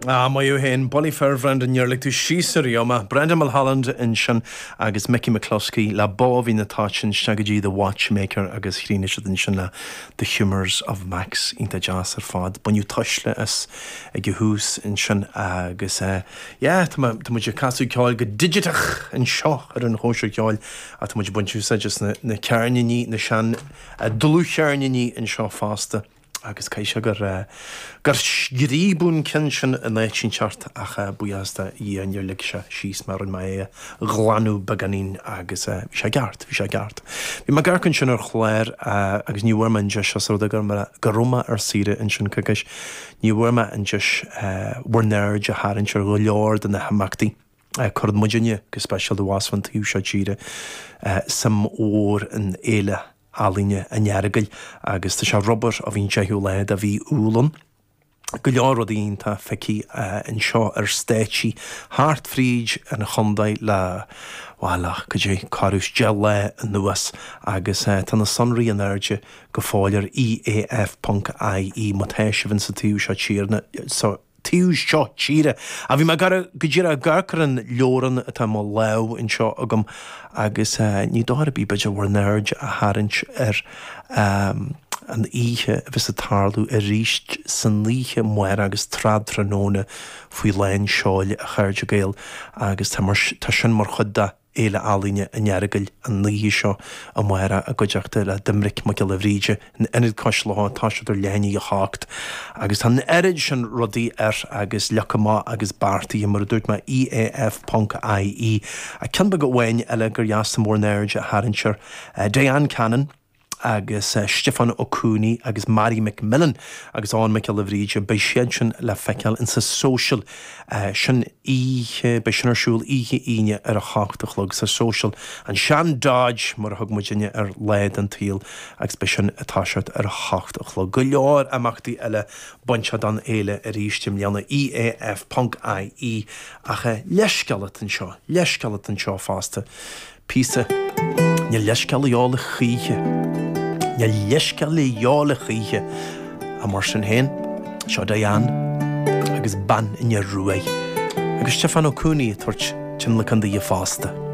Ah, maith thú féin, Bullaí fir, Brendan, níor lig tú síos ariamh mé. Brendan Mulholland ansin agus Mickey McCluskey le Bóibhín na Toiteann isteach go dtí The Watchmaker agus chríochnaigh siad ansin le The Humours of Max. Iontach deas ar fad. Baineadh tuisle as ag an thús ansin agus eh, yeah, tá tá muid ag casadh ceoil go digiteach anseo ar an Chóisir Cheoil ach tá muid ag baint úsáid as na na ceirníní, na sean dlúthcheirníní anseo fosta. Agus caithfidh sé gur gur scríobadh an ceann sin in áit inteacht ach buíochas do Dhia níor lig sé síos mé, rinne mé é a ghlanadh beagáinín agus bhí sé ceart, bhí sé ceart. Bhí mé ag amharc ansin ar chlár agus ní bhfuair mé an deis os rud é go raibh mé ar saoire ansin coicís, ní bhfuair mé an deis bhur n-aird a tharraingt ar go leor de na himeachtaí. Cuireann muidinne, go speisialta abhus fán taobh seo tíre, suim mhór in Fhéile Ealaíne an Earagail agus tá sé ar obair ó bhí an 10ú lá de mhí Iúil ann. Go leor rudaí iontach feicthe anseo ar stáitsí thart fríd an chontae le, bhuel, le cad é, corradh is 10 lá anuas agus tá na sonraí in airde go fóill ar EAF.ie má tá sibh insa taobh seo tíre, sa. taobh seo tíre. Ach bhí mé go díreach ag amharc ar an leabhrán atá i mo lámh anseo agam agus ní dóigh ar bith b'fhéidir bhur n-aird a tharraingt ar an oíche a bheas ag tarlú arís san oíche amárach agus tráthnóna faoi lán seoil a chairde Gael agus tá mar tá sin mar chuid de Fhéile Ealaíne an Earagail an oíche seo amárach i gcuideachta le Doimnic Mac Giolla Bhríde in Ionad Cois Locha tá siad ar leath i ndiaidh a hocht agus tá an oiread sin rudaí air agus leagtha amach agus beartaithe mar a dúirt mé EAF ponc IE. Ach ceann beag amháin eile gur dheas dom bhur n-aird a tharraingt air Diane Cannon agus Stiofán Ó Cuanaigh agus Mary McMillan agus Eoghan Mac Giolla Bhríde, beidh siad sin le feiceáil in sa Social sin oíche, beidh sin ar siúl oíche Aoine ar a hocht a chlog sa Social, an sean Dodge mar a thug muidinne air lá den tsaol agus beidh sin ag toiseacht ar a hocht a chlog. Go leor imeachtaí eile bainteach don fhéile arís i mbliana, EAF ponc IE ach leithscéal atá anseo, leithscéal atá anseo fosta. Píosa. Níl leithscéal a dhíobháil a choíche. Níl leithscéal a dhíobháil a choíche. Ach mar sin féin, seo Diane agus Bean an Fhir Ruaidh agus Stiofán Ó Cuanaigh ag tabhairt tionlacan daoithe fosta.